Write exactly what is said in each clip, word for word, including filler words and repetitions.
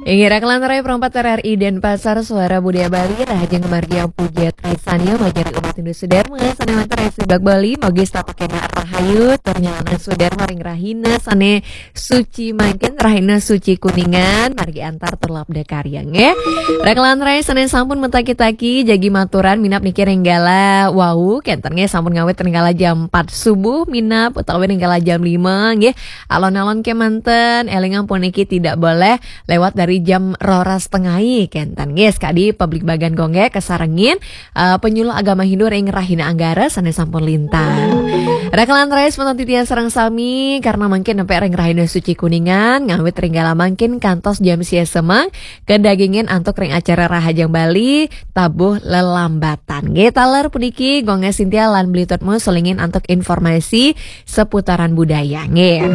Inggih, rakelan rai Pro empat R R I Denpasar, Suara Budaya Bali, rahajeng ngamargiang puja tresna majeng ring umat Hindu Sudarma, sané wénten ring Jebak Bali, mugi setata kénak rahayu, tur nyalana Sudarma ring rahina sané suci mangkin, rahina suci Kuningan, margi antar tur labda karya, nggih. Rakelan rai sané sampun mataki-taki, jagi maturan minab niki ring galah wau, kénten nggih, sampun ngawit ring galah jam empat subuh minab utawi ring galah jam lima, nggih. Alon-alon kémanten, élingang puniki tidak boleh lewat dari jam roras tengai, kénten nggih, sakadi pabligbagan Gonggé kasarengin, eh, penyuluh agama Hindu ring Rahina Anggara sané sampun lintang. Rakelan rai semeton titiang sareng sami, karena mangkin nempé ring Rahina Suci Kuningan, ngawit ring galah mangkin kantos jam sia semeng, kadagingin antuk ring acara Rahajeng Bali, Tabuh Lelambatan. Nggih, taler puniki Gonggé Sintia lan Beli Tutmu sulingin antuk informasi seputaran budaya, nggih.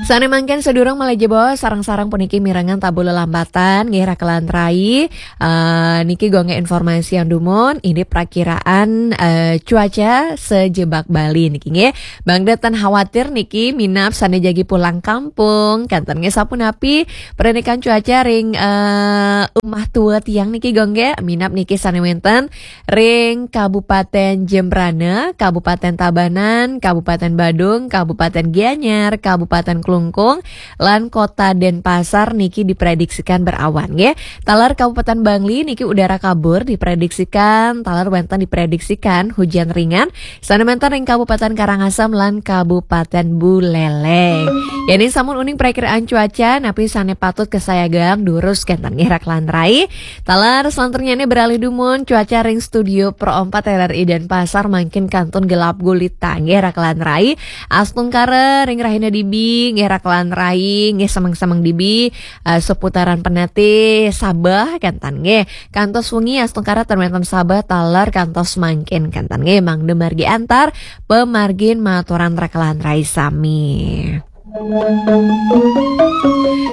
Sané mangkin sadurung malih jebos, sareng-sareng puniki mirengang Tabuh Lelambatan, nggih, rakelan rai. Eh, niki Gonggé informasiang dumun, indik prakiraan, eh, cuaca sajebak Bali niki, nggih. Mangda ten khawatir niki minab sané jagi pulang kampung, kénten nggih, sapunapi parindikan cuaca ring, eh, umah tua tiang niki, Gonggé, minab niki sané wénten ring Kabupatén Jembrana, Kabupatén Tabanan, Kabupatén Badung, Kabupatén Gianyar, Kabupatén Klungkung, lan Kota Denpasar niki diprediksikan berawan, nggih. Taler Kabupatén Bangli niki udara kabur diprediksikan, taler wénten diprediksikan hujan ringan, sané wénten ring Kabupatén Karangasem lan Kabupatén Buleleng. Yén sampun uning prakiraan cuaca, napi sané patut kasayagang durus kénten nggih rakelan rai. Taler salanturnyané beralih dumun cuaca ring studio Pro empat R R I Denpasar mangkin kantun gelap gulita nggih rakelan rai. Astungkara ring rahina dibi nggih rakelan rai, nggih semeng-semeng dibi, eh, seputaran Penatih Sabeh kénten nggih. Kantos wengi astungkara ten wénten Sabeh taler kantos mangkin kénten nggih, mangda margi antar pamargin maturan rakelan rai sami.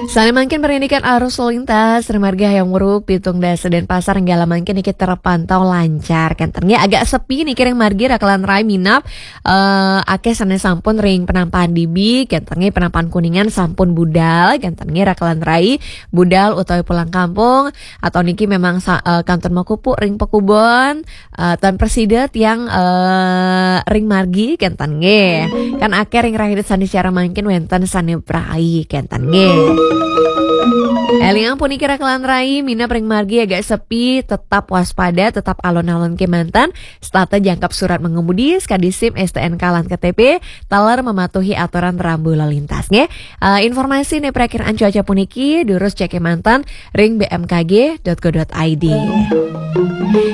Sané mangkin parindikan arus lalu lintas ring margi Hayam Wuruk, Pitung Dasa Denpasar, ring galah mangkin niki terpantau lancar. Kénten nggih, agak sepi niki ring margi rakelan rai minab, eh, akéh sané sampun ring Penampakan dibi, kénten nggih, Penampakan Kuningan sampun budal, kénten nggih rakelan rai budal utawi pulang kampung, atau niki memang sa-, eh, kantun makupuk ring pakubon, eh, tan prasida tiang, eh, ring margi kénten nggih. Kan akéh ring rahina sané cara mangkin wénten sané prai kénten nggih. Élingang puniki rakelan rai, minab ring margi agak sepi, tetap waspada, tetap alon-alon kémanten, setata jangkep surat mengemudi, sakadi SIM, STNK lan KTP, taler mematuhi aturan rambu lalu lintas nggih. Eh, informasi nggih prakiraan cuaca puniki durus cek kémanten ring B M K G dot go dot I D.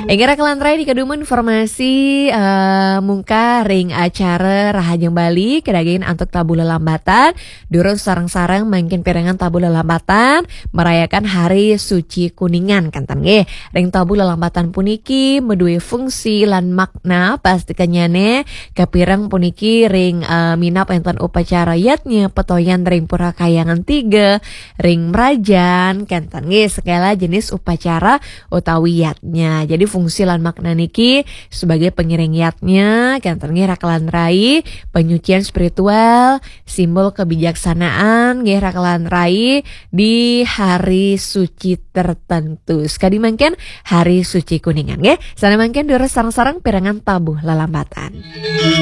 Inggih rakelan rai, niki dumun informasi, eh, mungkah ring acara Rahajeng Bali, kadagingin antuk Tabuh Lelambatan, durus sareng-sareng mangkin pirengang Tabuh Lelambatan, merayakan Hari Suci Kuningan kénten nggih. Ring Tabuh Lelambatan puniki madué fungsi lan makna, pastikannyané kapireng puniki ring, eh, minab wénten upacara yadnya petoyan ring Pura Kahyangan Tiga, ring Mrajan, kénten nggih, segala jenis upacara utawi yadnya. Jadi fungsi lan makna niki sebagai pengiring yadnya, kénten nggih rakelan rai, penyucian spiritual, simbol kebijaksanaan nggih rakelan rai di hari suci tertentu. Sakadi mangkin Hari Suci Kuningan nggih. Sané mangkin durus sareng-sareng pirengang Tabuh Lelambatan.